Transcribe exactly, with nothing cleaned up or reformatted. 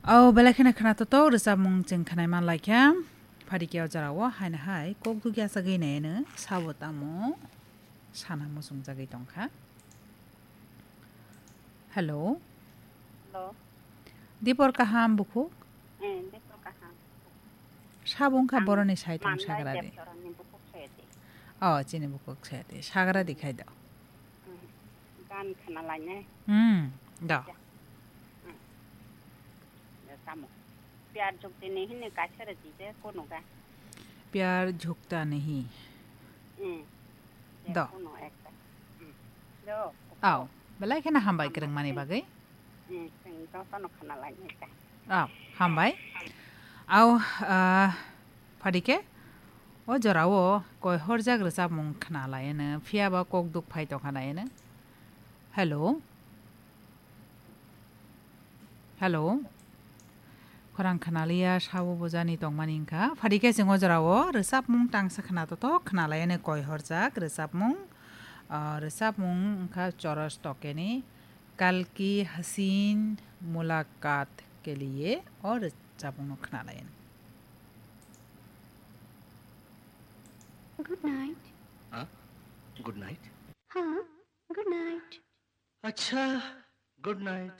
O belai kheno khwnathok rwchapmung chwng khwnai man laikha. Phadi khe o jorao haino hai kok dugya sagwi naino sabo tamo sana muchungjagwi tongkha. Hello. Hello. Dipor kaham bukhuk? Eh, dipor kaham. Sabo wngkha ang boroni saithong manlai sagra di. Depchorani bukhuk saya di. Oh, chini bukhuk saya di. Sagra di khai do. Hmm. Gan khana lainai. Hmm, do. Hmm. Tamo. Pyar jhukte nahi ne kaisa rwdi je kono ga. Pyar jhukta nahi. Hmm. Je do. Kono ekta. Hmm. Do. Au, belai kheno hambai kwrwngmani bagwi. Hmm, chwng jotono khana lainai ta. Au, hambai. Au, ah, phadi khe o jorao koi horjak rwchapmung khna laino, phiya ba kok duk phai tongkha naino. Hello. Hello. Khorang khnaliya sabo bujani tongmani wngkha. Phadi khe chwng o jorao rwchapmung tangsa khna totok khna laino koi horjak rwchapmung. Ah, rwchapmung wngkha Choros Tokeni Kal Ki Haseen Mulaqat Ke Liye o rwchapmung no khna laino. Good night. Huh? Good night? Huh? Good night. Acha, good night.